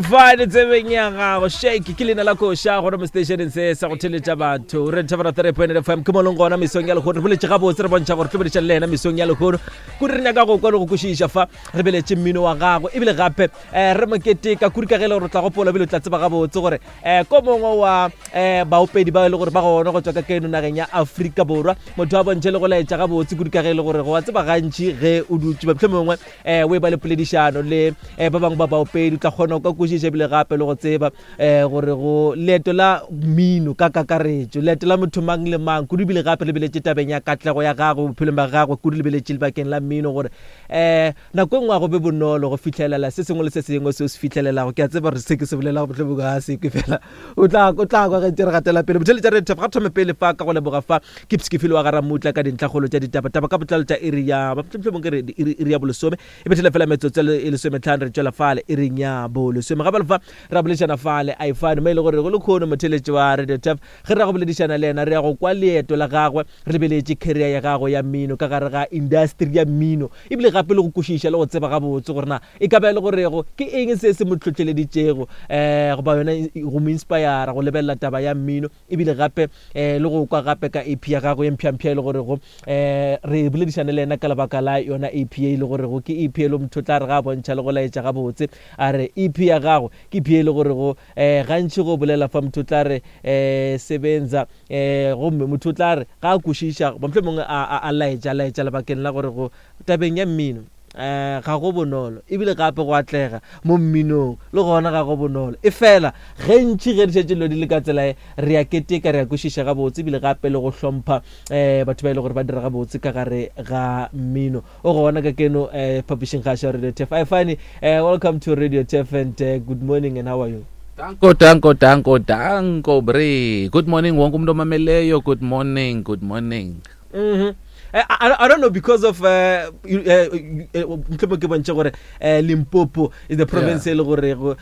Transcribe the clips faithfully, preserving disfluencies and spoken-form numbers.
Ifane tsebeng ya gago shake ke leina la koša gore mo stationeng se sa go theletša batho re thabela three point fm ke molong gona mesong ya lehono re boletše gabotse re bontšha gore tlo boledišana le yena mesong ya lehono kudu re nyaka go kwa le go kwešiša fa re beletše mmino wa gagwe ebile gape um re moketeka kudu ka ge e le gore o tla gopola ebile o tla tseba gabotse gore um ko mongwe wa um baopedi ba e le gore ba gona go tswa ka keno nageng ya Afrika Borwa motho a bontšhe le go laetša gabotse kudu ka ge e le gore go wa tseba gantši ge o dutše mohlomongwe um o e ba le poledišano le um ba bangwe ba baopedi o tla kgona go ka kwešiša ebile gape le go tseba um gore go leeto la mmino ka kakaretšo leeto la motho mang le mang kudu ebile gape lebeletše tabeng ya katlego ya gagwe bophelong ba gagwe kudu lebeletše lebakeng la mmino gore um nako e nngwe a go be bonolo go fitlhelela se sengwe le se sengwe se o se fitlhelelago ke a tseba gore se ke se bolelago mohlomongwe ga se kwe fela o tla o tla kwa ge ntse re gatela pele botheletša re ga thome pele fa ka go leboga fa ke psekefile wa garamutla ka dintlhakgolo tša ditaba taba ka botlalo tša iri ya mohlomongwe ke re iri iri ya bolesome e bethele fela metsotso e lesometlhano re tšwela fale iring ya bolesome gape fa ra boledišana fale a ifane mo e le gore go le kgono motheletši wa radio taf ge re ya go boledišana le yena re ya go kwa leeto la gagwe re lebeletše career ya gagwe ya mmino ka gare ga industry ya mmino ebile gape le go kwešiša le go tseba gabotse gore na e ka ba e le gorego ke eng se se mo tlhotlheleditšego um goba yona go mo inspira go lebelela taba ya mmino ebile gape um le go kwa gape ka ep ya gagwe ye mpšhampšha e le gorego um re boledišane le yena ka lebaka la yona ep e le gorego ke ep e le motho o tla re ga a bontšha le go laetša gabotse a re ep ya gago ke ep e le gorego um gantši go bolela fa motho o tla re um sebenza um gomme motho o tla re ga a kwešiša goba mohlomongwe a a laetša laetša lebakeng la gore go tabeng ya mmino um ga go bonolo ebile gape go atlega mo mminong le gona ga go bonolo e fela ge ntši ge di šetše dilo di le ka tsela e re a keteka re a kwešiša gabotse ebile gape le go hlompha um batho ba e le gore ba dira gabotse ka gare ga mmino o gona ka keno um publishing gaša radio tef ifane uh, welcome to radio tef and uh, good morning and how are you Danko, danko, danko, danko, bre. Good morning, wonke umuntu omameleyo. Good morning, good morning. Mm-hmm. I, I, I don't know because of uh, mhlomong ke bontšhe gore uh, Limpopo is the province e le gore uh,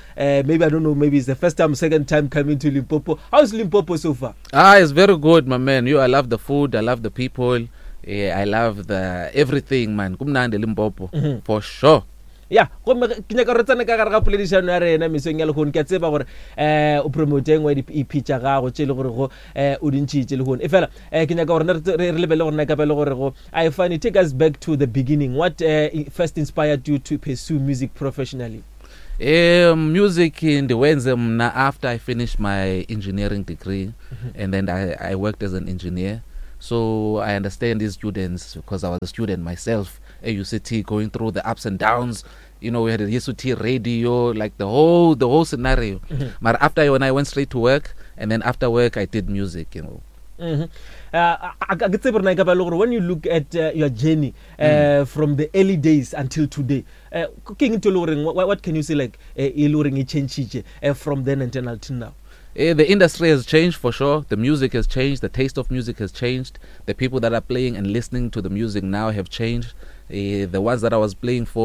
maybe I don't know maybe it's the first time second time coming to Limpopo how is Limpopo so far Ah, it's very good, my man. You, I love the food, I love the people. Yeah, I love the everything, man. Kumnandi Limpopo mm -hmm. for sure. ya gomme ke nyaka re tsene ka gare ga poledišano ya rena mesong ya lehono ke a tseba gore um o promote engwe ya di-ep tša gago tše e le gore go um o dintšhitše lehono e fela um ke nyaka gore re lebele gore na ka be le gore go ifane take us back to the beginning what uh, first inspired you to pursue music professionally Um, music ndiwenze mna after I finished my engineering degree mm -hmm. and then I, I worked as an engineer so I understand these students because I was a student myself at UCT going through the ups and downs you know we had a UCT radio like the whole the whole scenario mm -hmm. but after when I went straight to work and then after work I did music you know mm -hmm. uh, ke tsebe rena e ka ba le gore when you look at uh, your journey uh, mm. from the early days until today uh, ke eng ntho e le goreng what, what can you say like uh, e le goreng e changile uh, from then until until now Uh, the industry has changed for sure. The music has changed. The taste of music has changed. The people that are playing and listening to the music now have changed. Uh, the ones that I was playing for